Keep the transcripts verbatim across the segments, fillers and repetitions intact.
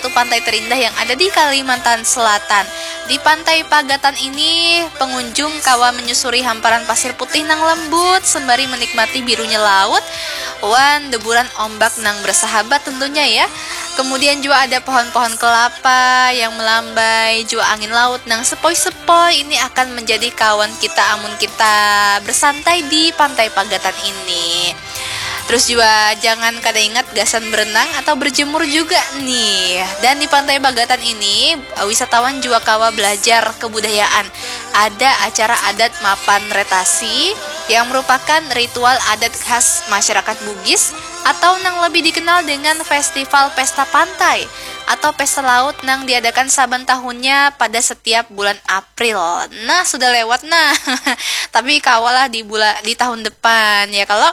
satu pantai terindah yang ada di Kalimantan Selatan. Di Pantai Pagatan ini, pengunjung kawa menyusuri hamparan pasir putih nang lembut sembari menikmati birunya laut wan deburan ombak nang bersahabat tentunya ya. Kemudian juga ada pohon-pohon kelapa yang melambai, juga angin laut nang sepoi-sepoi ini akan menjadi kawan kita amun kita bersantai di Pantai Pagatan ini. Terus juga jangan kada ingat gasan berenang atau berjemur juga nih. Dan di Pantai Pagatan ini, wisatawan juga kawa belajar kebudayaan. Ada acara adat mapan retasi yang merupakan ritual adat khas masyarakat Bugis atau nang lebih dikenal dengan festival pesta pantai atau pesta laut nang diadakan saban tahunnya pada setiap bulan April. Nah, sudah lewat nah. Tapi kawalah di bulan di tahun depan ya kalau.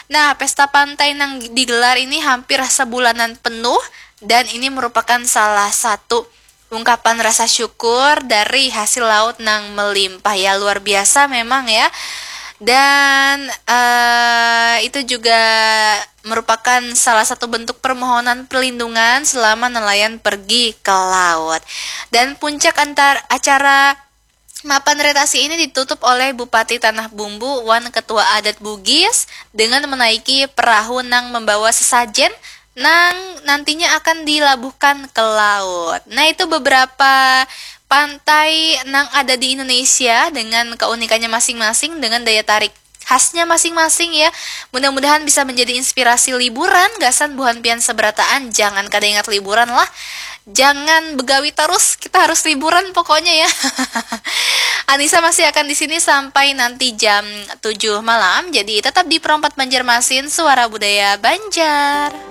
Nah, pesta pantai nang digelar ini hampir sebulanan penuh dan ini merupakan salah satu ungkapan rasa syukur dari hasil laut nang melimpah ya, luar biasa memang ya. Dan uh, itu juga merupakan salah satu bentuk permohonan perlindungan selama nelayan pergi ke laut. Dan puncak antar acara mapan retasi ini ditutup oleh Bupati Tanah Bumbu wan Ketua Adat Bugis dengan menaiki perahu nang membawa sesajen nang nantinya akan dilabuhkan ke laut. Nah, itu beberapa pantai nang ada di Indonesia dengan keunikannya masing-masing, dengan daya tarik khasnya masing-masing ya. Mudah-mudahan bisa menjadi inspirasi liburan gasan buhan pian seberataan. Jangan kada ingat liburan lah. Jangan begawi terus, kita harus liburan pokoknya ya. Anissa masih akan di sini sampai nanti jam tujuh malam. Jadi tetap di Perompat Banjarmasin, Suara Budaya Banjar.